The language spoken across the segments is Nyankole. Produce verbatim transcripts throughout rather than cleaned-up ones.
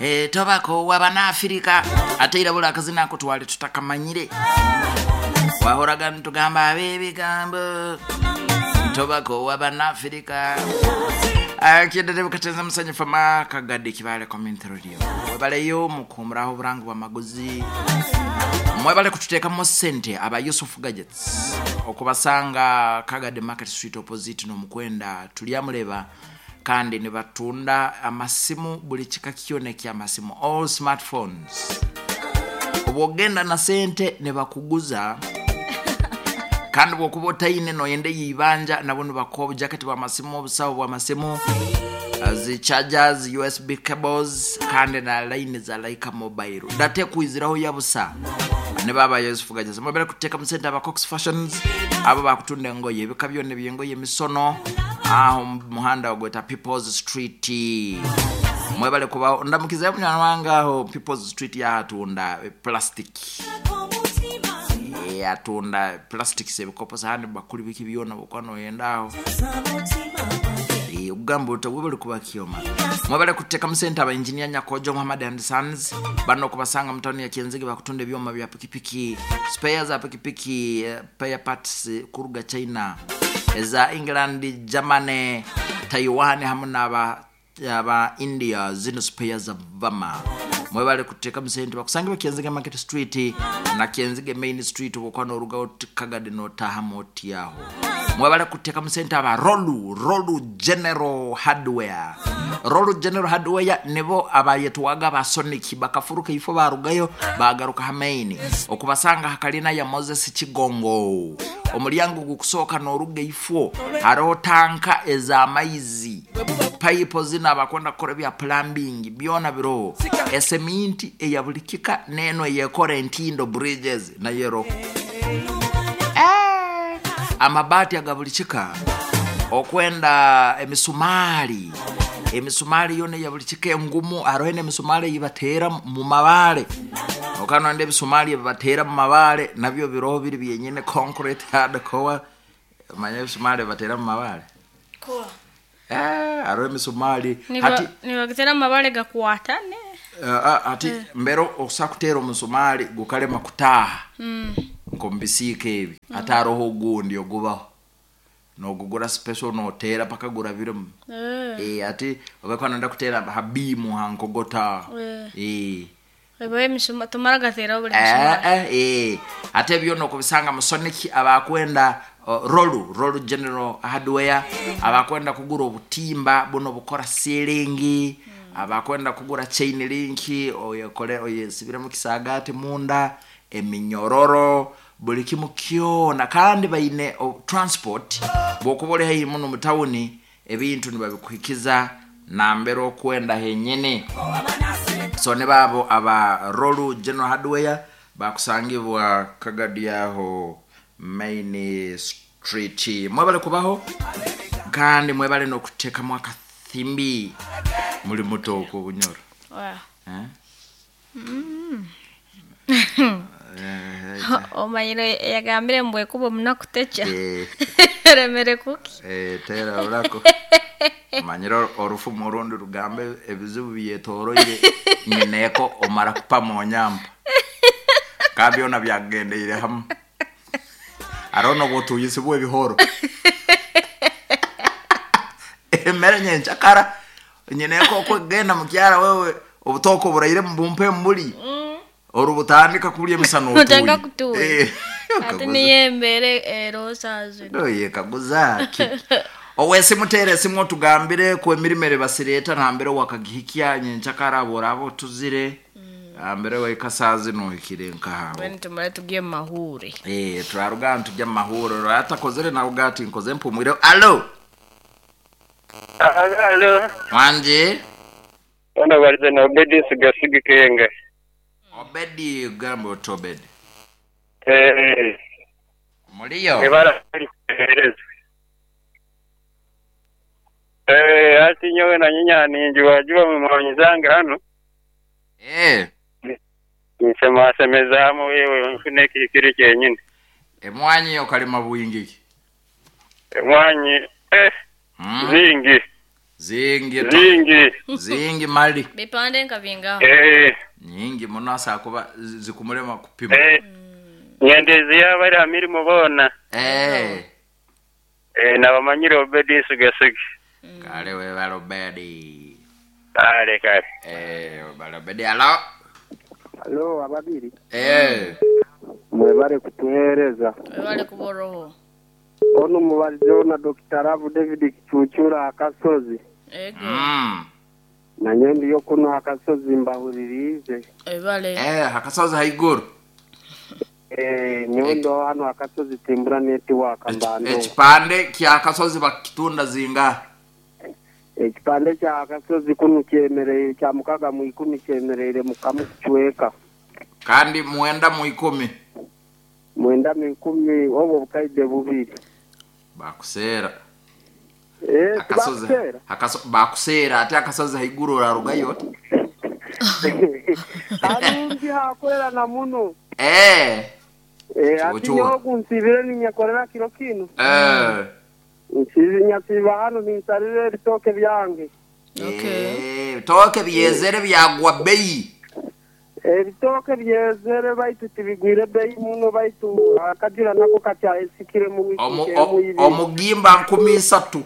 Eh, tobako wabanaafirika ate era buli akazina ako twali tutakamanyire wahoraga nitugamba abebigambo tobako wabanaafirika kyendere bukatenza musanyufu makagadde kibale community radio webaleyo mukumuraho oburangi bwamaguzi mwebale kututeekamu sente aba Yusuf Gadgets okubasanga Kagadi Market Street opposite n'omukwenda tulyamuleba kandi nibatunda amasimu buli kika kyona ekyamasimu, all smartphones. Obwogenda na sente nebakuguza kandi bwokuba otaine noyenda eyibanja nabo nibakuha obujaketi bwamasimu, obusawo bwamasimu, zi chargers, U S B cables kandi na line za Laika Mobile date kwiziraho yabusa. Ne baba Yusuf Gadgets mubere kuteeka musente aba Cox Fashions abo bakutunda engoye ebika byonna ebyengoye emisono aho mu muhanda ogweta People's Street. Mwebale kuba ndamukiza munywani wange aho People's Street yahatunda plastic. Eh, atunda plastics, ebikopo, sahani, bakuli, biki byona bwokuba noyenda aho. Eh, okugamba oti webale kuba kyoma mwebale kuteeka musente aba Engineer Nyakojo Muhammad and Sons bano okubasanga mu tawuni ya Kyenzige bakutunda ebyoma bya pikipiki, spare za pikipiki, eh, spare parts eh, kuruga China, eza England, Germany, Taiwan hamwe n'aba aba India, zino spare za vama. Mwebale kuteeka musente bakusangibwa Kyenzige Market Street na Kyenzige Main Street obwokuba norugaho Kagadi notahamu otyaho. Mwebale kuteeka musente aba rolu rolu General Hardware. Rolu General Hardware nibo abayetwaga ba Sonic bakafuruka ifo barugayo bagaruka hamaini okubasanga hakalina ya Moses Kigongo omulyango gukusooka noruga ifo hariho tanka ez'amaizi, payipo zino abakwenda kukora ebya plumbing byona biroho, eseminti eya buli kika neno eyekora entindo, bridges nayo eroho, amabaati aga buli kika okwenda emisumaali, emisumaali yona eya buli kika engumu. Hariho n'emisumaali eyibateera mu mabaale okanonda ebisumaali ebibateera mu mabaale nabyo biroho biri byenyine, concrete hardcore. Manya ebisumaali ebibateera mu mabaale? Kuwa. Eh, hariho emisumaali hati Nibagitera amabare gakwatane. uh, ati mbere okusa kuteera omusumaali gukalema kutaaha nkomubisiika ebi ate haroho ogundi ogubaho nogugura special noteera paka gurabiremu. Eh, Eh, ati obakwa nonda kuteera ha biimu ha nkogota. Eh. Eh. Ebo emisuma tumara gatera buli Eh, musumari. eh, eh. Ate byona okubisanga musoniki abakwenda uh, rolu rolu General Hardware abakwenda kugura obutimba buno bukora ceiling, abakwenda kugura chain link oyekole oyesibiremu kisagati munda, eminyororo, buli kimu kyona. Kandi baine o, transport bwokuba oli haihi muno mu tawuni ebintu nibabikuhikiza nambere okwenda henyene. So ne baabo aba Rolu General Hardware bakusangibwa Kagadi aho Main Street. Mwebale kubaho kandi mwebale n'okuteekamu akathimbi muli muto okwo obunyoro. Wa. Eh? Omanyire yagambire mbwe kuba omunaku techa. Eh, Remere kuki. eh, tera orako manyire orufumu orundi rugambe ebizibu byetoroire nyineko omara kupama onyampa ka byona byagendeire hamwe hariho n'obutuyisibwa ebihoro emere nyenchakara nyineko okwegenda mukyara wewe obutoko buraire mubumpe mbuli orubutandika kulya emisana. Otandika kutuuya. Eh, Ate kaguza. niyo embere erosazo. Oye kaguza ki owese mutere esimu otugambire ku emirimo ere basireeta nambere wakagihikya nyenchakara boraba otuzire ambere waikasazi nohikire nkahawo. Bweni tumare tugiye mu mahure. Eh, turaruga ntujya mu mahuriro atakozere nawe ugati nkoze mpumwire. Alo? Alo, wanje? Ono balize na Obedi Sigasigi Kenga. Obedi, gamba oti Obedi? Eh, muliyo? Ebara kuhereza. Eh, ati nyowe na nyinya ninji wajiba mu mwanyi zange hano. Eh, Nisema semezamu wewe mfune kikiri kyenyine. Emwanyi okalima bwingiki? Mwanyi eh Mm. zingi. Zingi Zingi. Zingi mali. Bipande nka bingaho. Eh. Nyingi muno asakuba zikumulema kupima. Eh. Nyendezi yabari ha mirimo bona. Eh. Eh nabamanyire Obedi sugesuge. Kale we balobedi. Kale kale. Eh balobedi alo. Alo ababiri. Eh. Mwebale kutuhereza. Mwebale kuboroho. Ono mubalizeho na Doctor Ravu David Kichuchura akasozi. Ego. Mm. Nanye ndiyo kuno akasozi mbahuririze. Ebale. Eh akasozi haiguru. Eh nyondo hano akasozi timbura network mbando. Ekipande kya akasozi bakitunda zinga. Ekipande kya akasozi kuno kyemereye kya mukaga mu ikumi kyemerere mukamu kuchweka. Kandi mwenda mu ikumi. Mwenda mu ikumi obo bukaide bubiri. Bakusera. Eh akasozi akaso bakusera ate akasozi haiguru rarugayo. Arungi hakorera na muno. Eh. Eh ati nyogu nsibire ninyakorera kiro kino. Eh. Nsizi nyasiba hano ninsarire ebitoke byange. Okay. Eh bitoke byezere byagwa bei. Ebitoke byezere baitu tibigwire bei muno baitu akajira nako katyaesikire mu wiki. Omugimba nkumi isatu.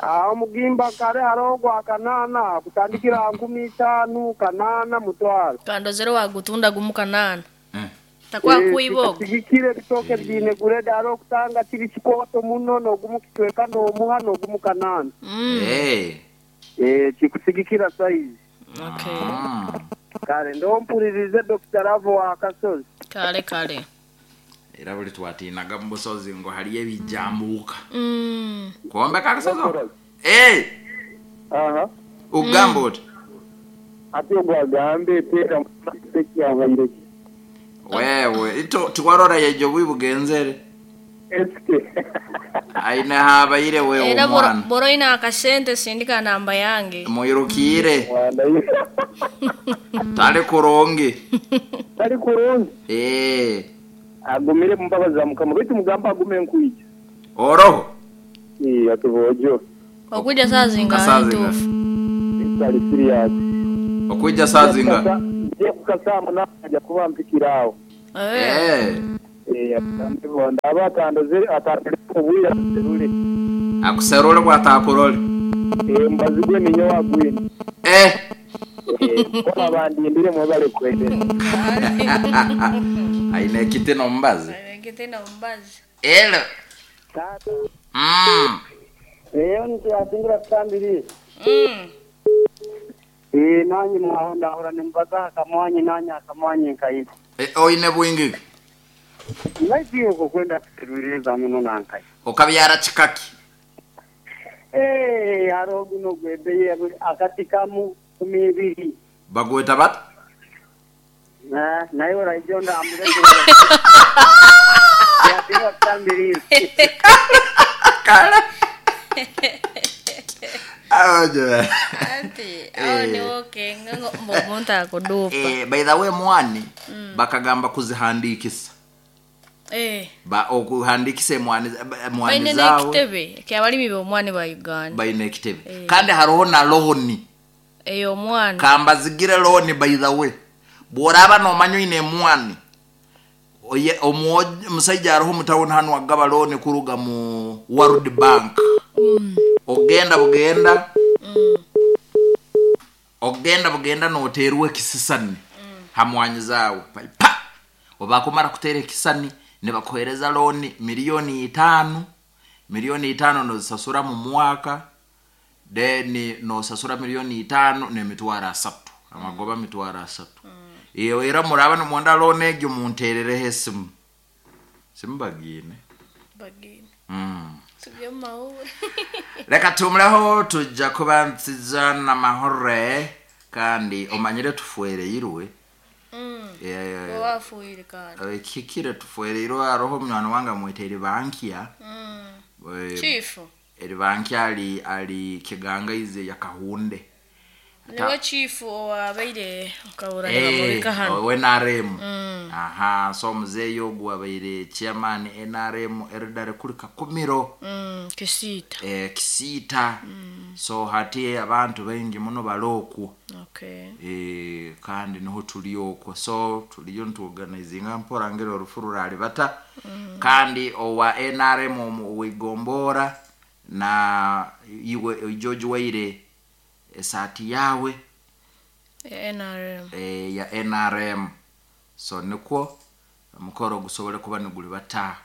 Ah omugimba kare harogwa kanana kutandikira nkumi itanu kanana mutwaro. Kandozero wagutunda gumu kanana. Mm. Takwa kuibogo. Sigikire bitoke byine gureda haro kutanga kiri kikoto muno no gumu kitweka no muha no gumu kanana. Mm. Eh. Eh kikusigikira size. Okay. Mm. Kale ndompulirize Doctor Ravo wa akasozi. Kale kale. Era buli twatinaga mu busozi ngo haliyo ebijambuka. Mm. Kuombeka akasozi? Eh. Aha. Ugamba oti. Ati ogwagambe tera tekyabaire. Wewe ito tiwarora yejo bwibugenzere. Eske. Aine habaire wewe Era omwana. boro ina akasente sindika namba yange. Muirukire. Tali kurungi. Tali kurungi. Eh. Agumire mumbabaza mukama bitu mugamba agume nkuija. Oroho. Eh atubojo. Okuja saa zinga ntufu. Tali serious. Okuja saa zinga. Je kukasama na aja kuba mpikirawo. Eh. Eh atambe ndaba atandoze atandere obuya serule. Akuserule bwatakurole. Eh mbazigwe ninyo wagwini. Eh. Eh abandi ndire mwebale kwende. Aine kite no mbazi. Aine kite no mbazi. Elo. Tata. Mm. Eyo ntiyasingira kutambiri. Mm. Eh nanyi mwahonda hora nimbaza akamwanyi nanyi akamwanyi nkayiba. Eh oine bwingi. Nagiye kwenda kuteruriza muno nankayi. Okabyara chikaki. Eh haro guno gwebeye akatikamu kumi ibiri. Bagweta bat? Na nayo raijonda amure. Ya tiwa kutambiri. Kala. Aje. Anti, awo ni woke ngo mbonta kudupa. Eh by the way mwani mm. bakagamba kuzihandikisa. Eh. Ba okuhandikisa mwani mwani zawo. Baine ekitebe kyabalimi bomwani ba Uganda. Baine ekitebe. Eh. Kandi haroho na loan. Eyo mwani. Kamba zigire loan by the way. Bworaba no manyo ine mwani. Oye omusajja aroho mutawuni hano agaba loan kuruga mu World Bank. Mm. Ogenda bugenda. Mm. Ogenda bugenda noterwe kisisani. Mm. Hamwanyi zawe. Pa. Obakumara kutera ekisani ne bakohereza loan milioni itano. Milioni itano nozisasura mu mwaka. Then nosasura milioni itano ne mitwaro asatu. Amagoba mitwaro asatu. Mm. Iyo era muraba no mwanda loan egyo munterere hesimu. Simbagine. Bagine. Mm. Tujye mahure. Reka tumleho tujja kuba nsiza na mahore kandi omanyire tufuereirwe. Mm. Eh wafuire kandi. Kikire tufuereirwe aroho mwana wanga mwetere bankia. Mm. Eh, Chief. Eri bankia ali ali kiganga ize ya kahunde. Niwe chief owabaire nkabura nibamubika hano. We N R M. Aha, so muzeeyi ogwo wabaire chairman N R M elder kuri Kakumiro. Mm, Kisiita. Eh, Kisiita. So hati abantu baingi muno balokwo. Okay. Eh, kandi niho tuli okwo, so tuliyo ntuorganizinga mpora ngero orufu ruralibata. Mm. Kandi owa N R M wigombora na iwe George Waire esati yawe ya N R M. E, ya N R M. So nikwo mukoro gusobole kuba niguli bata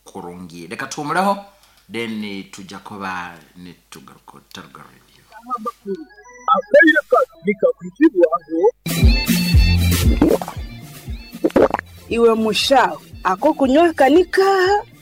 kurungi. Reka tumuleho then tujja kuba nitugaruka Taruga Radio. Iwe mushaho ako kunywa kanika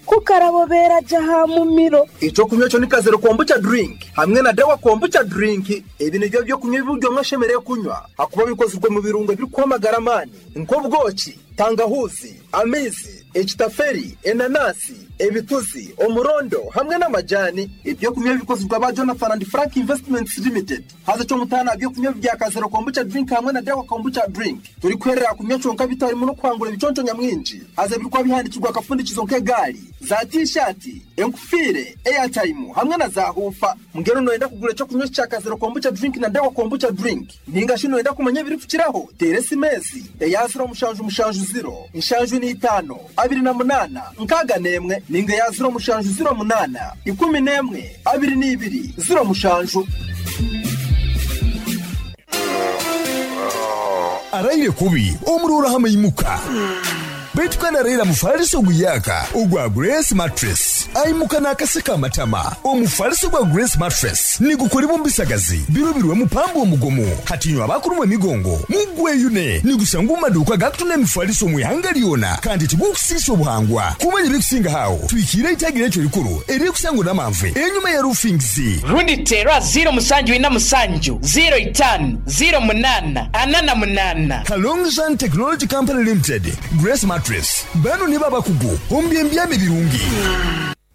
kukarabobera jaha mumiro. Ico kunywa cyo nikazero kombucha drink hamwe na dawa kombucha drink. Ebi nibyo byo kunywa ibyo mwashemereye kunywa hakuba bikozwe mu birungo biri kwamagara mani nk'ubwoki, tangahuzi, amizi, ekitaferi, enanasi, ebituzi, omurondo hamwe n'amajani. Ibyo kunywa bikozwe ba Jonathan and Frank Investments Limited. Haza cyo mutana byo kunywa bya kazero kombucha drink hamwe na dawa kombucha drink. Turi kwerera kunywa cyonka bitarimo no kwangura ibiconco nyamwinji. Haza birikwa bihandikirwa akafundikizo nk'egari, za t-shirt, enkufire, airtime hamwe na za hufa. Mugero noenda kugura cyo kunywa cya kazero kombucha drink na dawa kombucha drink. Ninga shino enda kumenya biri kukiraho. Teresi mezi, eyazira mushanju mushanju zero, inshanju ni itano, abiri na munana, nkaga nemwe, ninga yazira mushanju zero munana, ikumi nemwe, abiri n'ibiri, zero mushanju. Araire kubi, omurura hama imuka. Baitu kandi arahira mufariso guyaka ogwa Grace Mattress aimuka n'akaseka amatama. Omufariso gwa Grace Mattress nigukora ibumbisagazi birubirwe mupambo omugomo hatinywa abakurumwa emigongo mugweyune nigusanga mu maduka gakutuna emifariso mu ihanga lyona kandi tigukusisa obuhangwa kumanya ebikusinga hawo twikire itagira ekyo rikuru erikusangwa n'amanve enyuma ya roofings rundi tera zero musanju ina musanju zero itanu zero munana anana munana. Kalongzhan Technology Company Limited Grace Mattress bano ni babakugu ombyembyame birungi.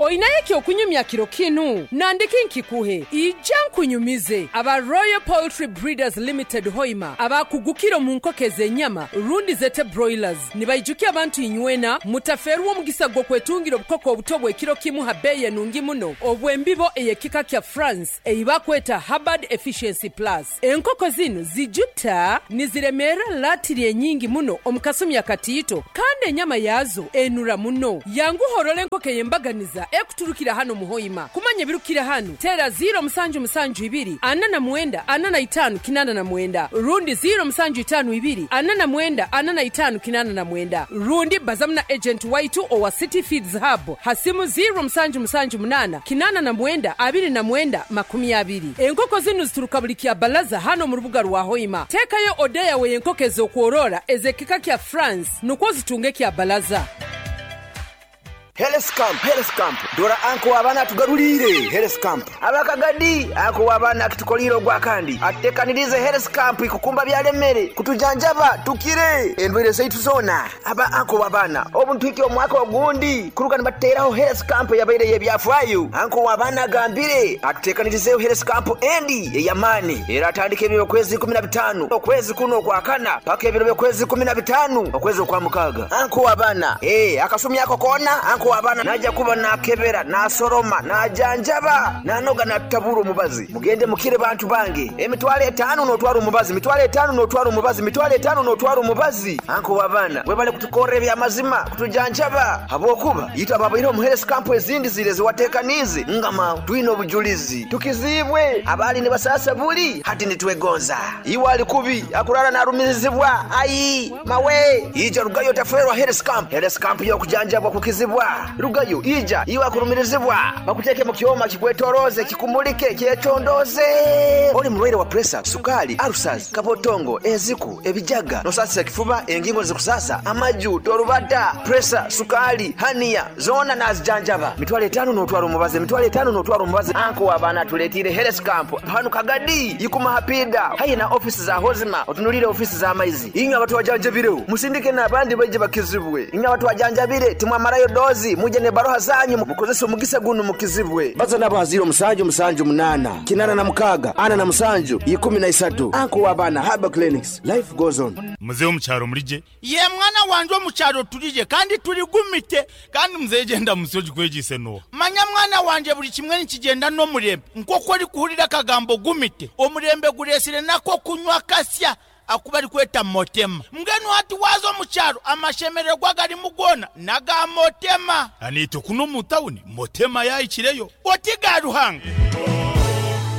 Oinaye kyokunyumya kiro kinu nandiki nkikuhe ija nkunyumize aba Royal Poultry Breeders Limited Hoima abakugukiro mu nkokeze enyama rundi zete broilers nibaijukia abantu inywena mutaferwa omugisa gwo kwetungira obukoko obuto bw'ekiro kimu ha beye nungi muno obwembibo eyekika kya France eibakweta Hubbard Efficiency Plus. Enkoko zino zijuta niziremera latiri enyingi muno omukasumi akatiito kandi enyama yazo enura muno yangu horole enkoko yembaganiza ekuturukira hano muhoima. Kumanya birukira hano tera zero musanju musanju ibiri anana mwenda anana itanu kinana na mwenda rundi zero musanju itanu ibiri anana mwenda anana itanu kinana na mwenda rundi bazamna agent waitu owa City Feeds Hub hasimu zero musanju musanju munana kinana na mwenda abiri na mwenda makumi abiri. Enkoko zinu zituruka buli kya balaza hano mu rubuga rwa Hoima. Tekayo odeya we enkoko ez'okworora ezekika kya France nukwo zitunge kya balaza. Health Camp, Health Camp. Dora anko abana tugarulire Health Camp. Abakagadi ako abana kitukoliro gwa kandi. Atekanirize Health Camp ikukumba byalemere kutujanjaba tukire endwere zaitu zona. Aba anko abana obuntu iki omwaka ogundi kuruka nibateraho Health Camp yabaire yebyafwayo. Anko abana gambire atekanirize Health Camp endi eyamani. Era atandike ebiro kwezi kumi na bitano okwezi kuno kwa kana paka ebiro kwezi kumi na bitano okwezi kwa mukaga. Anko abana eh akasumi yako kona anko abana naja kuba nakebera nasoroma najanjaba nanoga natabura omubazi mugende mukire bantu bange emitwale etano notwara omubazi mitwale etano notwara omubazi mitwale etano notwara omubazi anko wabana webale kutukora ebyamazima kutujanjaba habwokuba yita babaire omu health camp ezindi zire ziwatekanize ngama twine obujulizi tukizibwe abali ne basasa buli hati nitwegonza iwali kubi akurara narumizibwa ayi mawe ija rugayo taferwa health camp health camp yo kujanjabwa kukizibwa rugayo ija iwa kurumirizibwa bakuteke mu kyoma kikwetoroze kikumulike kyecondoze oli mulwaire wa pressure sukali ulcers kabotongo eziku ebijaga nosasira kifuba engingo zikusasa amaju torubata pressure sukali hania zona nazijanjaba mitwale etano notwara omubazi mitwale etano notwara omubazi anko abana tuletire health camp hanu kagadi ikuma hapida hayi na office za hozima otunulire office za maizi inyo abantu wajanjabire musindike n'abandi baje bakizibwe inyo abantu wajanjabire timwamarayo dozi Abakazi muje ne baroha zanyu mukozesa omugisa guno mukizibwe. Baza nabo ziro musanju musanju munana kinana na mukaga ana na musanju ikumi na isatu. Anko wabana Herbal Clinics. Life goes on. Muzehe omukyaro murije. Ye mwana wanje omukyaro turije kandi turigumite kandi muzehe genda musoji kwegise no. Manya mwana wanje buli kimwe nikigenda n'omurembe nk'oku ori kuhurira akagambo gumite omurembe guresire nako kunywa kasya akuba ari kweta motema mbwenu hati waza omukyaro amashemererwa garimu gona naga motema anito kuno mu tawuni motema yayikireyo oti ga Ruhanga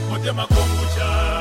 motema kombucha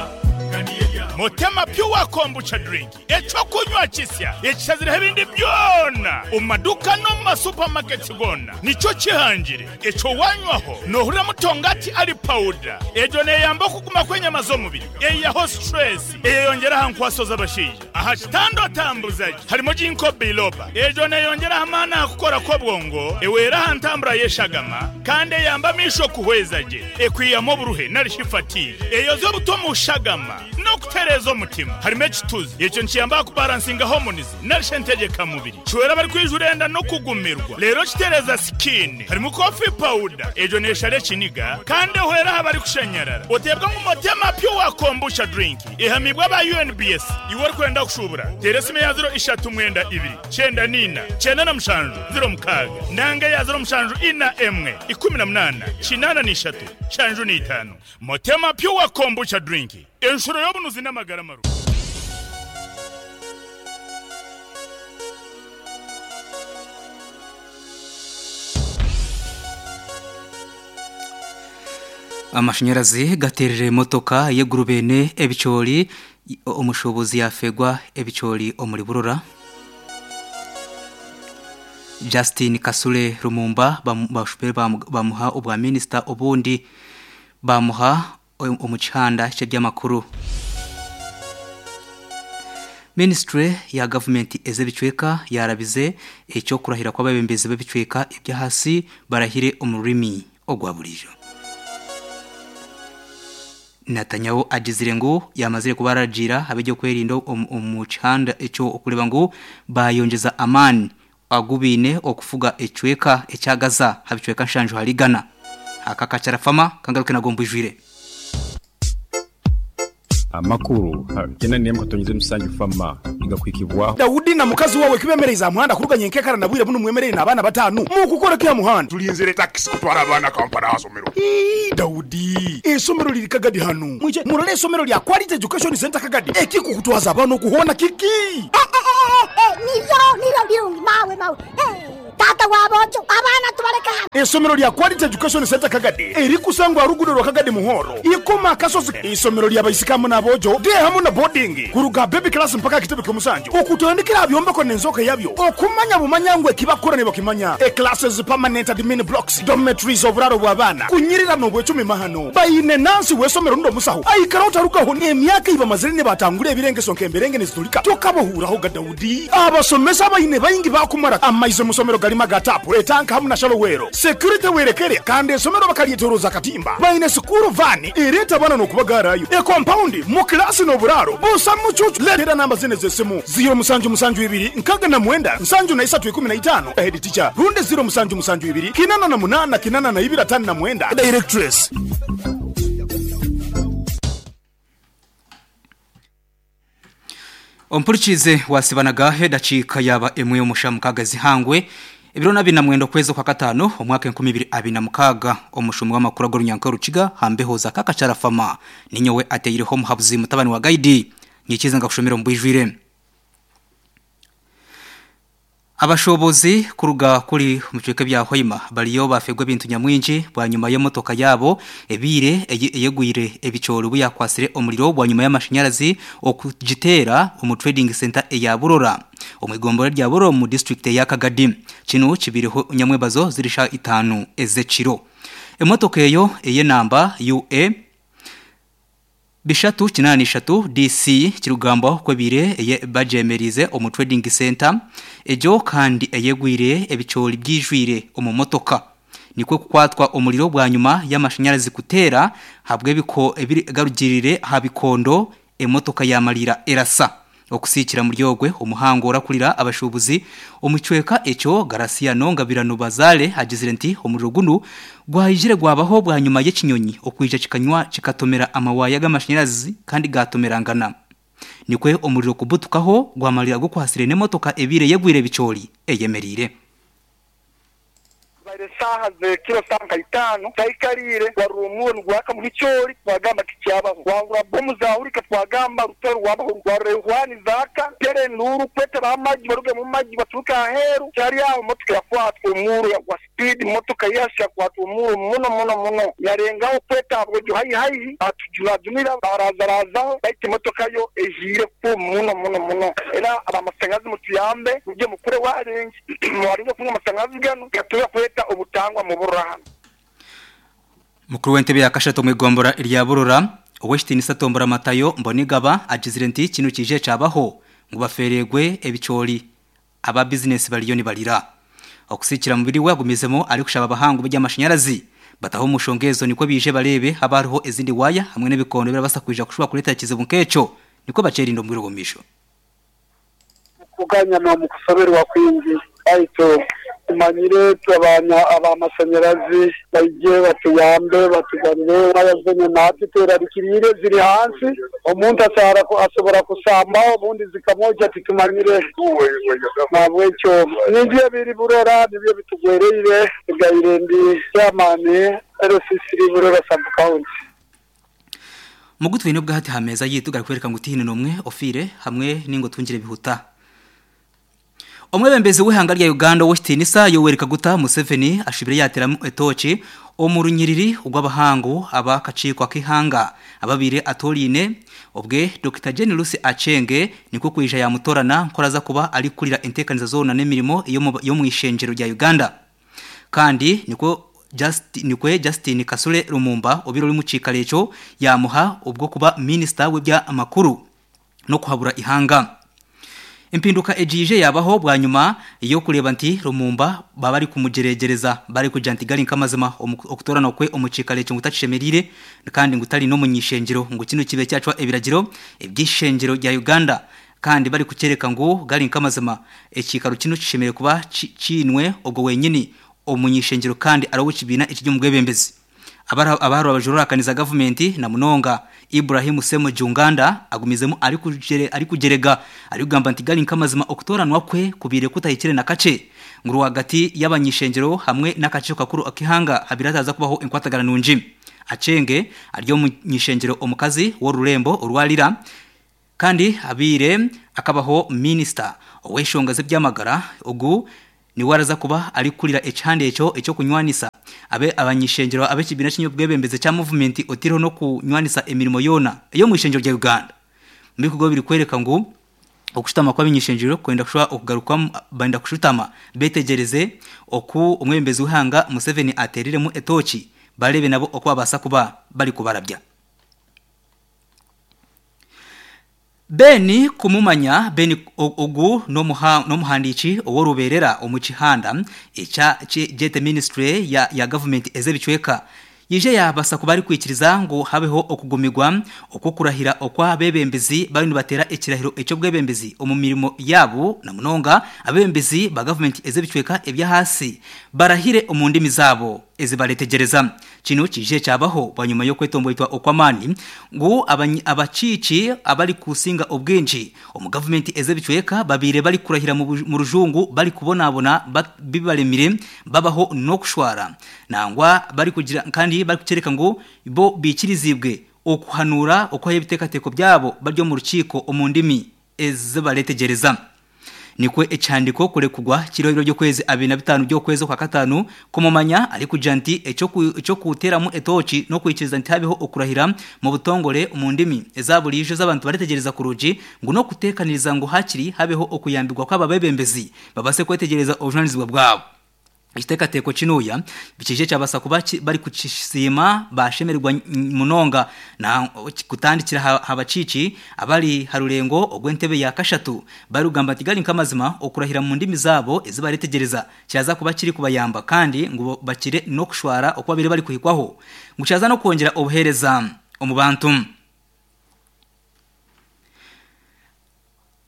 Motema pure kombucha drink echo kunywa kisya ekisazire ebindi byona omaduka no mu supermarket gona nico kihangire echo wanywaho nohurira mutongati ali powder ejo neyamba kuguma kwenyama z'omubiri eyaho stress eyongera hankwaso z'abashija aha kitando tambuzaji harimo jinko biloba ejo neyongera hamana kukora ko bwongo ewera hantambura yeshagama kandi yamba misho kuhwezaje ekwiyamo buruhe narishifati eyo zo butomu shagama no kutereza omutima harimo ekituzi ekyo nkiyamba kubalansinga hormones narishentegeka mubiri kiwera bari kwijurenda no kugumirwa rero kitereza skin harimo coffee powder ejo neshare ekiniga kandi ehwera aha bari kushenyerara otebwa ngu motema pure kombucha drink ehamibwa ba U N B S iwe ori kwenda kushubura teresime ya zero ishatu mwenda ibiri cyenda nina cyenda na mushanju zero mukaga nanga ya zero mushanju ina emwe ikumi na munana kinana n'ishatu shanju n'itanu motema pure kombucha drink enshuro y'obunuzi n'amagara maru. Amashanyarazi gaterere motoka yegurubene ebichori omushobozi yafegwa ebichori omuri burora. Justin Kasule Rumumba bashupere bamuha obwa minister obundi bamuha omuchanda ky'ebyamakuru. Ministry ya government ezebichweka yarabize ekyo kurahira kw'ababembezi b'ebichweka ebya hasi barahire omurimi ogwa bulijo. Netanyahu agizire ngo yamazire kubaragira abejyo kwerinda omuchanda ekyo okuleba ngo bayongeza amani agubine okufuga echweka ekyagaza habichweka nshanju haligana akakacara fama kangaruke nagomba ijwire. Amakuru gena niye mkatonyize musanju fama igakwikibwaho Daudi na mukazi wawe kibemereza muhanda kuruganye nkekara nabwire buno mwemereye nabana batanu mu kukora kya muhanda tulinzire taxi kutwara abana Kampala hasomero. Ii Daudi esomero liri Kagadi hano mwije murole esomero lya Quality Education Center Kagadi ekiko kutwaza abana okuhona kiki niyo niyo birungi mawe mawe tata wabojo abana tubareka. Esomero lya Quality Education Center Kagadi erikusangwa rugudo rwa Kagadi muhoro ikoma kasozi. Isomero lya bayisikamu nabojo de hamu na boarding kuruga baby class mpaka kitebe kyomusanju okutandikira byombeko nenzoka yabyo okumanya bumanyangwe kibakora ne bakimanya e classes permanent admin blocks dormitories oburaro bw'abana kunyirira no bwecumi mahano bayine nansi wesomero ndo musaho aikara utarukaho ne emyaka iba mazire ne batangure ebirengeso nkemberenge nezitulika tokabohuraho ga Daudi abasomesa bayine bayingi bakumara amaizo musomero galima gatapu etanka hamu na shalowero security werekere kandi esomero bakalietoroza katimba bayine sukuru vani ireta bana no kubagarayo e compound mu class no buraro busa mucucu letera namba zine zesimu zero musanju musanju ibiri nkaga na mwenda nsanju na isatu ikumi na itano head teacher runde zero musanju musanju ibiri kinana na munana kinana na ibira tano na mwenda directress. Ompurikize wasibanaga dakika yaba emwe y'omushamu kagazi hangwe ebiro nabi na mwendo kwezo kwa katano omwaka enkumi ibiri abiri na mukaga omushumu w'amakuru ag'orunyanka rukiga hambeho za kakacara fama ninyowe ateireho muhabuzi mutabani wa gaidi nyikize ngakushomera mbwijwire. Abashobozi kuruga kuri mucweke bya Hoima baliyo bafegwa bintu nyamwinji bwa nyuma y'motoka yabo ebire eyegwire ebichoro buyakwasire omuliro bwa nyuma y'amashanyarazi okugitera omu trading center eya Burora omwigombora rya Burora mu district ya Kagadi kino kibiriho nyamwebazo zirisha itanu ezekiro emotoka eyo eye namba U A Bishatu chinani shatu D C kirugamba kwebire eye bajemerize omu trading center ejo kandi eyegwire ebichori byijwire omu motoka nikwe kukwatwa omuliro bwa nyuma y'amashanyarazi kutera habwe biko ebiri garugirire habikondo emotoka yamalira erasa Okusikira muri ogwe omuhango orakulira abashubuzi omucweka eco Garasiano Ngabirano Bazale agizire nti omuriro guno gwahijire gwabaho bwa nyuma y'ikinyonyi okwija kikanywa kikatomera amawaya g'amashanyarazi kandi gatomerangana. Nikwe omuriro kubutukaho gwamalira gukwasire n'emotoka ebire yegwire bicori eyemerire. Saha ze kilo sanka itano taikarire warumuwe ngwaka mu bichori twagamba kicyaba wangura bomu zaurika twagamba rutero wabaho rwarehwani zaka tere nuru kwete bamaji baruge mu maji baturuka aheru cyari aho motoka yakwatwa umuru ya kwa speed motoka yasha kwatwa umuru muno muno muno yarengaho kweta abwo hayi hayi atujura junira barazarazaho baite motoka yo ejire ku muno muno muno era abamasangazi mutuyambe muje mukure warengi mwarinze kunywa amasangazi gano gatuya kweta obutangwa mu burahano. Mukuru w'entebe ya Kashato mwigombora irya Burora Oweshtinisa Tombora Matayo Mbonigaba agizire nti kino kije cabaho ngo baferegwe ebicori aba business baliyo ni balira. Okusikira mubiri we agumizemo ari kushaba abahangu by'amashanyarazi bataho mushongezo niko bije barebe habariho ezindi waya hamwe n'ebikondo birabasa kuja kushuba kuleta kizibu nkeco niko bacerindo mbwirogomisho. Kuganya no mukusoberwa kwingi aito tumanyire twabanya abamashanyarazi baije batuyambe batuganire abazenye natwe terarikirire ziri hansi omuntu asara asobora kusamba obundi zikamoja titumanyire nabwecyo nibyo biri Burora nibyo bitugwereire gaire ndi chairman R C C Burora sub county. Mugutwe nubwo hati hameza yituga kwereka ngo utihine nomwe ofire hamwe ningo tungire bihuta. Omwebembezi w'ihanga rya Uganda Westinisa Yoweri Kaguta Museveni ashibire yateramu etochi omurunyiriri ugwabahangu abakacikwa kihanga ababire atorine obwe Doctor Jane Lucy Achenge niko kuija ya mutorana nkoraza kuba ari kurira entekaniza zona n'emirimo yo mu ishenjero rya Uganda. Kandi niko Justin nikwe Justin Kasule Lumumba obiro uri mucikaleco yamuha ubwo kuba minister w'ibya amakuru no kuhabura ihanga. Impinduka ejije yabaho bwa nyuma iyo kureba nti Lumumba baba ari kumugeregereza bari kuja ntigali nkamazima okutorana kwe omucikaleco ngutacishemerire kandi ngutari no munyishengero ngo kino kibe cyacwa ebiragiro ebyishengero rya Uganda kandi bari kucereka ngo gali nkamazima ekikaro kino kishemere kuba cinwe ubwo wenyini omunyishengero kandi arawo kibina ekijyo mugwebembezi. Abaharo abajurura kaniza government na munonga Ibrahim Semo Junganda agumizemo ari kujere ari kugerega ari kugamba nti gali nkamazima okutoranwa kwe kubire kutahikire na kace nguru hagati y'abanyishengero hamwe n'akace kakuru akihanga habirataza kubaho inkwatagara nunji. Achenge aryo munyishengero omukazi wo rurembo urwalira kandi abire akabaho minister oweshongaze byamagara ugu ni waraza kuba ari kurira echande eco eco kunywanisa abe abanyishengero abe kibina kinyo bwebembeze cha movement otiriho no kunywanisa emirimo yona iyo mu ishengero rya Uganda. Mbikugo biri kwereka ngo okushutama kw'abinyishengero kwenda kushwa okugaruka banda kushutama betegereze oku omwembezi uhanga Museveni aterire mu etochi barebe nabo okwabasa kuba bari kubarabya. Beni kumumanya Beni ogu no muha no muhandichi oworuberera omuchihanda echa J Ministry ya ya government ezebicweka yije yabasa kubari kwikiriza ngo habeho okugumigwa okukurahira okwa bebembezi bari batera ekirahiro eco bwebembezi omu mirimo yabo na munonga abebembezi ba government ezebicweka ebya hasi barahire omundimi zabo ezibaletegereza. Kino kije cyabaho banyuma yo kwetomboitwa okwamani ngo abacici abari kusinga obwinji omu government ezebicweka babire bari kurahira mu rujungu bari kubonabona bibalemire babaho no kushwara nangwa bari kugira kandi bari kucereka ngo bo bikirizibwe okuhanura okwaye ibitekateko byabo baryo mu rukiko omundimi ezibaletegereza. Nikwe echandiko kure kugwa kirobiro byo kwezi abiri na bitanu byo kwezi kwa katanu kumumanya ari kujanti eco eco kuteramu etochi no kwikiriza nti habeho okurahira mu butongore mu ndimi ezabulije z'abantu baritegereza kuruji ngo no kutekaniriza ngo hakiri habeho okuyambirwa kw'ababebembezi babase kwetegereza obujunanizibwa bwabo. Ikitekateko kinuya bikije cyabasa kuba bari kucisima bashemerwa munonga na kutandikira habacici abari harurengo ogwentebe ya kashatu barugamba ati gali nkamazima okurahira mu ndimi zabo ezibaretegereza cyaza kuba kiri kubayamba kandi ngo bakire no kushwara okwabire bari kuhikwaho ngo cyaza no kongera obuhereza omu bantu.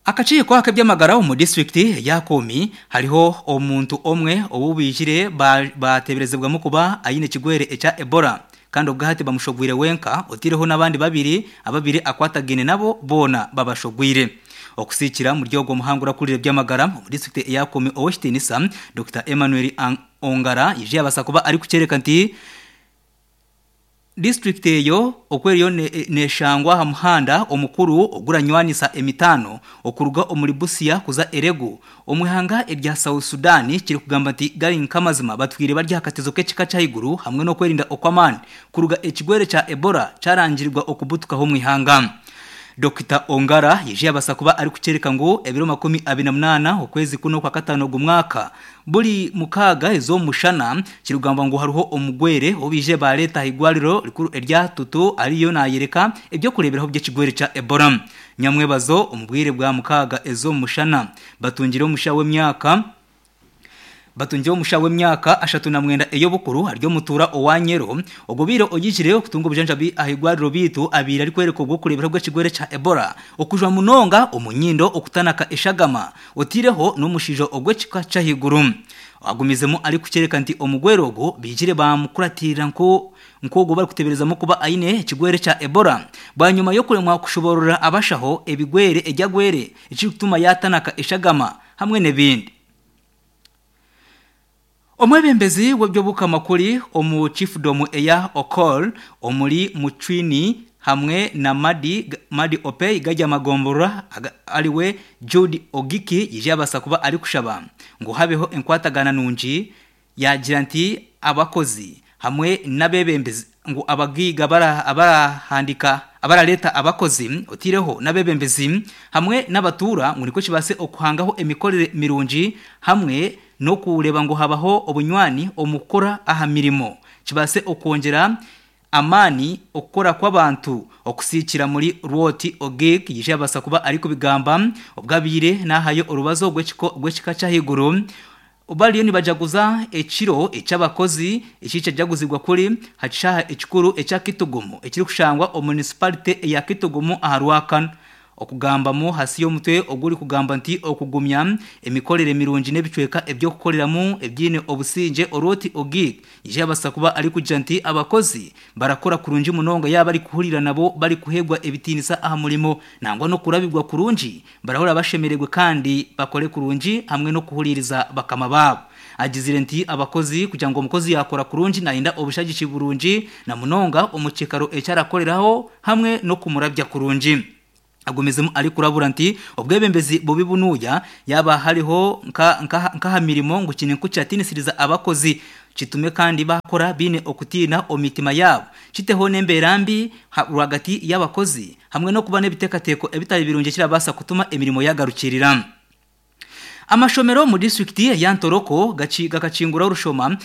Akakiiko ak'ebyamagara omu disitulikiti ya Komi hariho omuntu omwe owubijire bateberezebwamu kuba ayine ekigwere ekya Ebola kandi obwahati bamushogwire wenka otireho n'abandi babiri ababiri akwatagine nabo bona babashogwire. Okusikira muri ogwo muhango urakurire byamagara mu disitulikiti ya Komi Owekitiinisa Doctor Emmanuel Ongara yije abasa kuba ari kucereka nti district eyo okweriyo neshangwa ha muhanda omukuru oguranywanisa emitano okuruga omuri Busia kuza Erego omwihanga erya South Sudan kiri kugamba nti gari nkamazima batwire barya hakatezo k'ekika cy'iguru hamwe no kwerinda okwamani kuruga ekigwere ca Ebola carangirirwa okubutukaho mwihanga. Doctor Ongara yije abasa kuba ari kucereka ngo ebiro makumi abiri na munana okwezi kuno kwa katano gumwaka buri mukaga ezo mushana kirugamba ngo haruho omugwere obije ba leta higwariro rikuru erya tutu ariyo nayereka ebyo kureberaho by'ekigwere ca Ebola. Nyamwebazo omubwire bwa mukaga ezo mushana batungire omusha w'emyaka batungiye omusha w'emyaka ashatu na mwenda eyo bukuru aryo mutura owanyero ogobiro ogijire okutunga obujanjabi ahigwariro bitu abiri ari kwereka obwo kurebera bw'ekigwere ca Ebola okujwa munonga omunyindo okutanaka eshagama otireho n'omushijo ogw'ekika cy'ahiguru. Agumizemo ari kucereka nti omugwero ogo bijire bamukuratirira nko nkogo bari kuteberezamo kuba aine ekigwere ca Ebola bwanyuma yo kuremwa kushoborora abashaho ebigwere ejyagwere ekikutuma yatanaka eshagama hamwe n'ebindi. Omwebembezi w'ebyobukamakuri omu chiefdom eya Okol omuri Muchwini hamwe na Madi Madi Opei gajya magombora aliwe Jude Ogiki yije abasa kuba ari kushaba ngo habeho enkwatagana nungi yagira nti abakozi hamwe n'abebembezi ngo abagiga bara abarahandika abaraleta abakozi otireho n'abebembezi hamwe n'abatura ngo niko kibase okuhangaho emikorere mirungi hamwe no kureba ngo habaho obunywani omukora aha mirimo kibase okongera amani okukora kw'abantu okusikira muri Rwoti Ogik yije abasa kuba ari kubigamba obwabire nahayo orubazo gw'ekika cy'ahiguru obaliyo nibajaguza ekiro eky'abakozi ekikyajaguzibwa kuri hacishaha ekikuru ekya Kitugumu ekiri kushangwa omu municipality eya Kitugumu aha Rwakana. Okugambamo hasi y'omutwe oguri kugamba nti okugumya emikorere mirungi n'ebicweka ebyokukoreramu ebyine obusinge Oroti Ogik yije abasa kuba ari kugira nti abakozi barakora kurungi munonga yaba ari kuhurira nabo bari kuhegwa ebitinisa aha murimo nangwa no kurabirwa kurungi barahora bashemererwe kandi bakore kurungi hamwe no kuhuririza bakama babo. Agizire nti abakozi kugira ngo umukozi yakora kurungi nainda obushagishi burungi na munonga omukekaro ecyarakoreraho hamwe no kumurabya kurungi. Agumizemu ari kurabura nti obwebembezi bubi bunuya yaba hariho nka nka mirimo ngo kine kucyatinisiriza abakozi kitume kandi bakora bine okutina omitima yabo kiteho nemberambi rwagati y'abakozi hamwe no kuba nebitekateko ebitari birungi kirabasa kutuma emirimo yagarukirira. Amashomero mu distrikti ya Ntoroko gaciga gakingura urushoma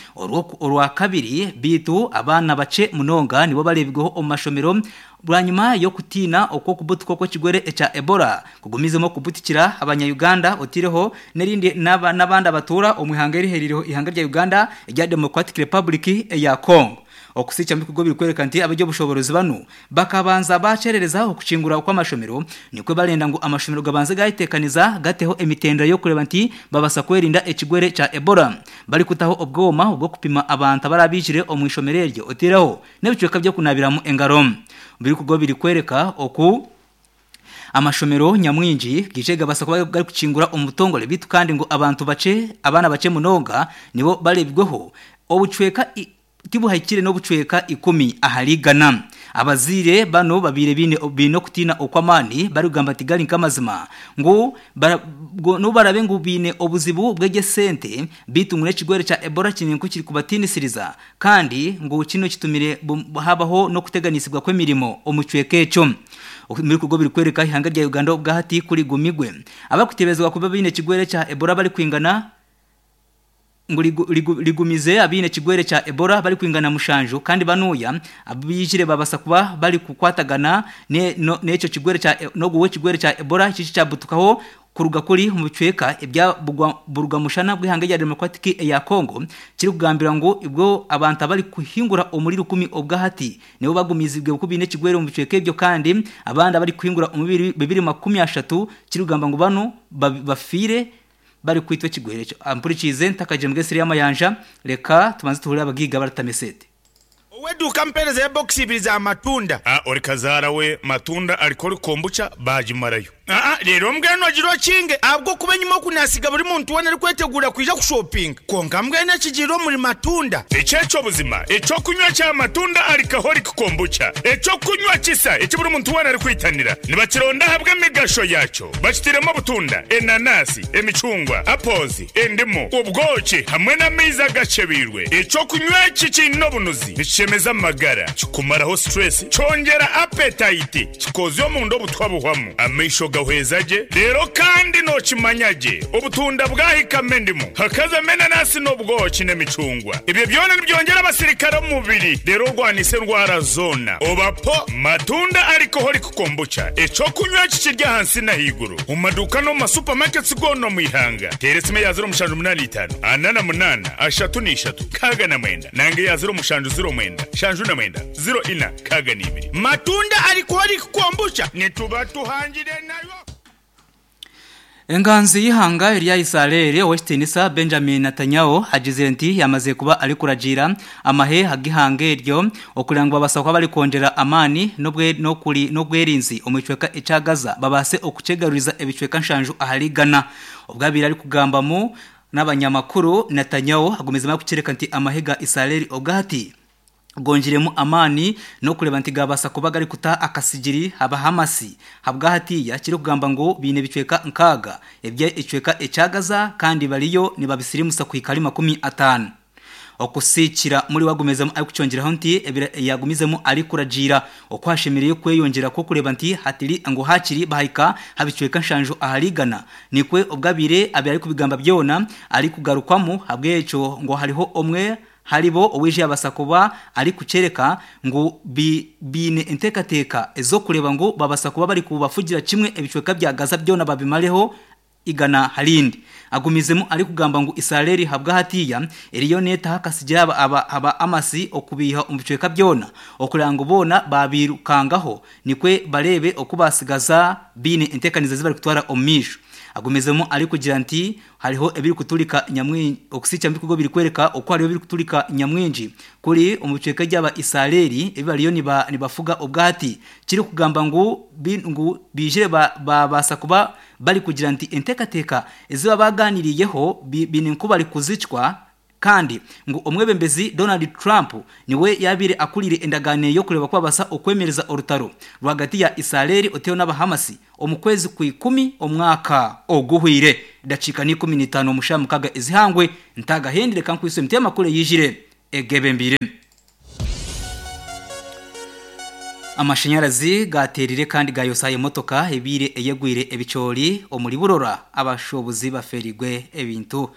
orwa kabiri bitu abana bace munonga nibo barebweho omashomero bwanyuma yo kutina okwo kubutuko ko kigwere eca Ebola kugumizemo kubutikira abanya Uganda otireho nerindi n'abandi abatura omwihanga eriheririho ihanga rya Uganda rya Democratic Republic ya Congo. Okusicha mbikugo biri kwereka nti abajyo bushoborozi bano bakabanza bacerereza okucingura kwa amashomero nikwe barenda ngo amashomero gabanze gayitekaniza gateho emitendera yo kureba nti babasa kwerinda ekigwere ca Ebola bari kutaho obwoma ubwo kupima abantu abarabijire omwishomero eryo otiraho n'ebicweka byo kunabiramu engaro. Biri kugo biri kwereka oku amashomero nyamwinji gijega basa kuba gari kucingura omutongole bitu kandi ngo abantu bace abana bace munonga nibo barebweho obucweka tibuhaikire no bucweka ikumi ahaligana. Abazire bano babire bine bino kutina okwamani bari kugamba ati gari nkamazima ngo no barabe ngo bine obuzibu bwege sente bitu ngure kigwere ca Ebola kininku kiri kubatinisiriza kandi ngo kino kitumire habaho no kuteganisibwa kw'emirimo omucweka eco. Muri kugo biri kwereka ihanga rya Uganda obwahati kuri gumigwe abakutebezwa kuba bine kigwere ca Ebola bari kwingana ngu ligumize abine kigwere cha Ebola bali kwingana mushanju kandi banuya abijire babasa kuba bali kukwatagana ne no, neco kigwere cha noguwe kigwere cha Ebola chichi chabutukaho kuruga kuri mu bicweka ebya buruga mushana bwihanga rya Democratic ya Congo kiri kugambira ngo ibwo abantu bari kuhingura umuriro kumi obwahati nibo bagumizibwe kubine kigwere mu bicweka ebyo kandi abandi bari kuhingura umubiri bibiri makumi ashatu kiri kugamba ngo bano bafire bari kwitwa kigwere cyo ampurikize ntakaje mbwesiri y'amayanja reka tubanze tuhurira abagiga baratamesete Weduka mpereza ya box ibiri za matunda. Ah, ori kazara we matunda alikori kombucha bajimarayo. Ah ah, rero mbweno jiro kinge abwo kubenyuma kunasiga buri muntu wona ari kwetegura kuja ku shopping. Konka mbwene kijiro muri matunda. Echecho buzima, echo kunywa cha matunda alcoholic kombucha. Echo kunywa kisa, echi buri muntu wona ari kwitanira. Nibakironda habwe migasho yacho. Bakitiremo butunda, enanasi, emicungwa, apples, endimu, ubwoki hamwe n'amiza gacebirwe. Echo kunywa kikino bunuzi. Nichemeza magara, kikumaraho stress, chongera appetite, kikozyo mu ndo butwabuhwamu. Amisho gahwezaje, rero kandi no kimanyaje. Ubutunda bwahikame ndimu. Hakaza menanasi n'ubwoki n'emicungwa. Ibyo byona nibyongera abasirikare mu mubiri. Rero rwanise ndwara zona. Obapo matunda alcoholic kombucha. Echo kunywa kikirya hansi na higuru. Mu maduka no mu supermarkets gono mu ihanga. Teresime ya zero mushanju munani itanu. Anana munana, ashatu ni ishatu. Kaga na mwenda. Nange ya zero mushanju zero mwenda. Shanju na mwenda. Zero ina kaga ni ibiri. Matunda alcoholic kombucha. Nituba tuhangire nayo. Enganzi y'ihanga ya Israel Westinisa Benjamin Netanyahu agize nti yamaze kuba ari kuragira amahe hagihange iryo okurangwa basakwa bari kongera amani nobwe no kuri no gwerinzi omicweka icagaza babase okucegaruriza ebicweka nshanju aharigana ubwabira ari kugamba mu n'abanyamakuru Netanyahu agomeza kucereka nti amahega Israel obwati gonjiremu amani no kureba nti gabasa kuba gari kuta akasigiri haba hamasi habwahatiya kiri kugamba ngo bine bicweka nkaga ebye icweka ecagaza kandi bariyo nibabisirimusa kwikari makumi atanu okusikira muri wagumezemo ari kucyongeraho nti yagumizemo ari kuragira okwashemereye kweyongera ko kureba nti hatiri ngo hakiri bahika habicweka nshanju aharigana nikwe ubwabire abiri ari kubigamba byona ari kugarukwamo habweco ngo hariho omwe haribo owije abasakuba ari kucereka ngo bi, bine entekateka ezo kureba ngo babasakuba bari kubafugira kimwe ebicweka bya Gaza byona babimareho igana halindi agumizemo ari kugamba ngo Israel habwa hatiya eriyo neta hakasigira aba, aba, aba amasi okubiha umubicweka byona okuranga bona babirukangaho nikwe barebe okubasigaza bine entekaniza zibari kutwara omisho agumizemo ari kugira nti hariho ebiri kutulika nyamwinji okusicha mbikugo biri kwereka uko hariho biri kutulika nyamwinji kuri umuceka ry'aba Israeli ebibariyo niba nibafuga ubwati kiri kugamba ngo ngu bijire babasa ba, kuba bari kugira nti entekateka eziba baganiriyeho bine nkuba bari kuzicwa kandi ngo omwebembezi Donald Trump niwe yabire akulire endagane yo kureba kwabasa okwemereza orutaro rwagati ya Israel oteo n'abahamasi omukwezi ku ikumi omwaka oguhwire dacika ni kumi n'itanu mushamukaga izihangwe ntagahendire kankwiso mtema kule yijire egebembire amashanyarazi gaterire kandi gayosaye motoka ebire eyegwire ebicori omuri burora abashobozi baferigwe ebintu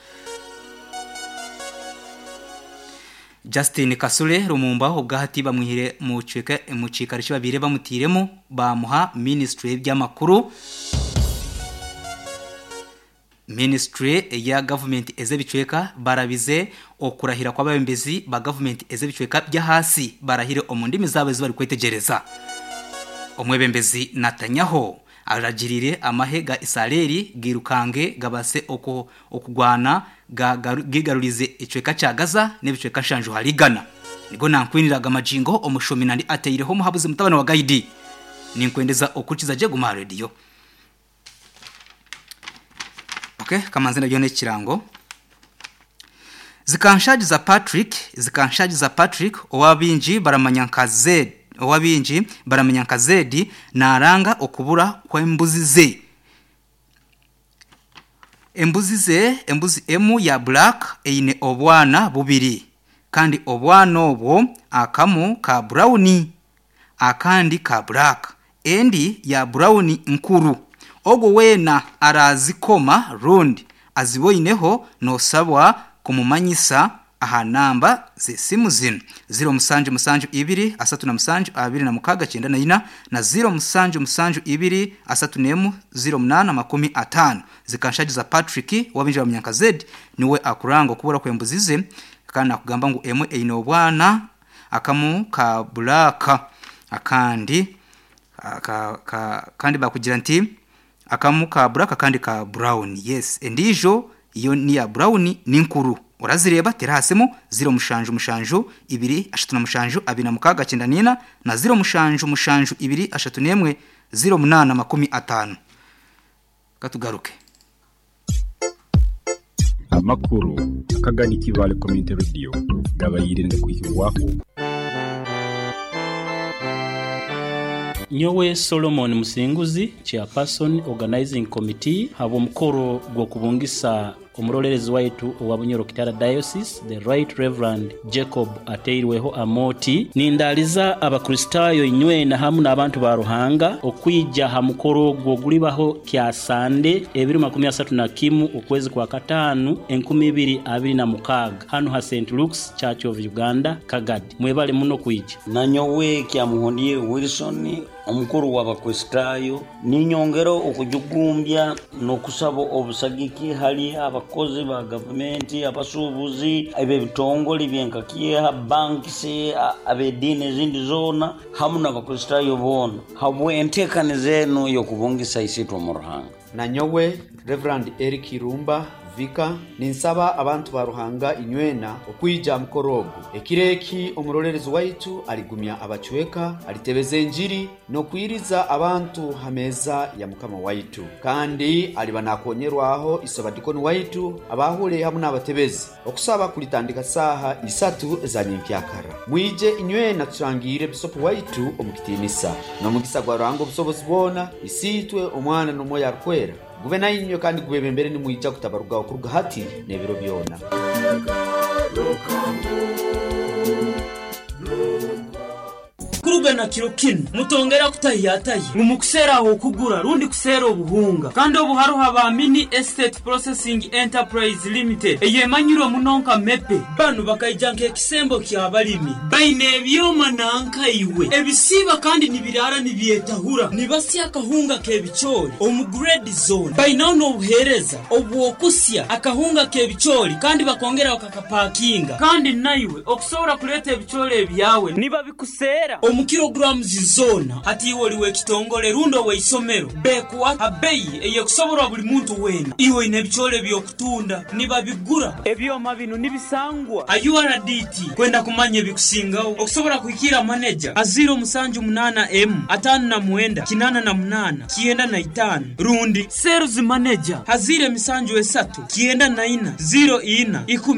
Justin Kasule Rumumba ubwahati bamwihire mu cika mu cikarishi babire bamutiremo bamuha ministry by'amakuru Ministry ya government ezebicweka barabize okurahira kw'ababembezi ba government ezebicweka bya hasi barahire omundimi zabe bari kwetegereza omwebembezi Netanyahu aragirire amahe ga Israeli girukange gabase oko okugwana gigarurize icweka cya Gaza n'ibicweka shanju harigana nigo nankwiniraga amajingo omushomi nandi ateireho muhabuze mutabana wa Gaidi ninkwendeza okukiza je guma radio. Okay, kamanzi nabyo nekirango Zikanshaji za Patrick zikanshaji za Patrick owabinji baramanya nka Z owabinji baramanya nka Zedi naranga okubura kwembuzi ze Embuzi ze embuzi emu ya black eine obwana bubiri kandi obwana obwo akamu ka brown akandi ka black endi ya brown nkuru ogwo wena arazikoma rundi aziboyineho nosabwa kumumanyisa aha namba z'esimu zino ziro musanju musanju ibiri asatu na musanju abiri na mukaga kyenda na ina na ziro musanju musanju ibiri asatu nemu ziro munana makumi atano zikanshajiza Patrick wabinjira mu Nyanka Z niwe akuranga okubura kwembuzize kandi akugamba ngu emwe eine obwana akamu ka bulaka akandi ka, ka, kandi bakugira nti akamu ka black akandi ka brown. Yes, endijo iyo ni ya brown ni nkuru urazireba terasemo ziro mushanju mushanju ibiri ashatu na mushanju abiri na mukaga cyenda nina na ziro mushanju mushanju ibiri ashatu nemwe ziro munana makumi atano. Katugaruke amakuru akagani kibale community radio gabayirinde kwikirwako. Nyowe Solomon Musinguzi, chairperson organizing committee, habo mukoro gwo kubungisa omurolerezi waitu owa Bunyoro Kitara Diocese, the Right Reverend Jacob Ateirweho Amoti. Nindaliza abakristayo inywena hamu n'abantu ba Ruhanga okwija ha mukoro gwo gulibaho kya Sande ebiri makumi asatu na kimu okwezi kwa katanu enkumi ibiri abiri na mukaga hano ha Saint Luke's Church of Uganda Kagadi. Mwebale muno kwija. Nanyowe kya Muhondie Wilson omukuru w'abakristayo ninyongero okujugumbya n'okusaba obusagiki hali abakozi ba gavumenti, abasuubuzi, eb'ebitongole byenkakyeha, bankisi, ab'ediini ezindi zoona hamu n'abakristayo boona habwe enteekaniza enu y'okubungisa isitwe mu Ruhanga. Nanyowe Reverend Eric Irumba Vika ninsaba abantu ba Ruhanga inywena okwija mukorogo ekireki omurolerezi waitu aligumya abachweka alitebeza enjiri nokwiriza abantu hameza ya mukama waitu kandi aliba nakonyerwaho isabadikoni waitu abahule hamwe n'abatebezi okusaba kulitandika saha isatu za nyenkyakara. Mwije inywena tushangire bisopo waitu omukitinisa n'omugisa gwa Ruhanga obusobozi bwona isitwe omwana n'omwoyo arukwera gube nayinywe kandi gubebembere nimwija kutabaruga okuruga hati n'ebiro byona. Kuruga na kiro kinu mutongera kutayataye ngumukusera aho kugura rundi kusera obuhunga kandi obuharuha ba Mini Estate Processing Enterprise Limited eyemanyirwe munonka mepe banu bakaijanka ekisembo kya balimi baine ebyoma nanka iwe ebisiba kandi nibirara nibyetahura nibasya akahunga kebichori omu grade zone baine n'obuhereza obwokusya akahunga kebichori kandi bakongera bakakapakinga kandi naiwe okusobora kuleta ebichori ebyawe niba bikusera omu kilograms zona hati iwe oliwe ekitongole rundo weisomero bekuwa abeyi eyekusoborwa buli muntu wena iwe ine ebichole byokutunda nibabigura ebyoma bino nibisangwa a U R D T kwenda kumanya ebikusingaho okusobora kuhikira manager aziro musanju munana m atano na mwenda kinana na munana kienda na itano rundi sales manager hazire misanju esatu kienda na ina zero ina ikumi.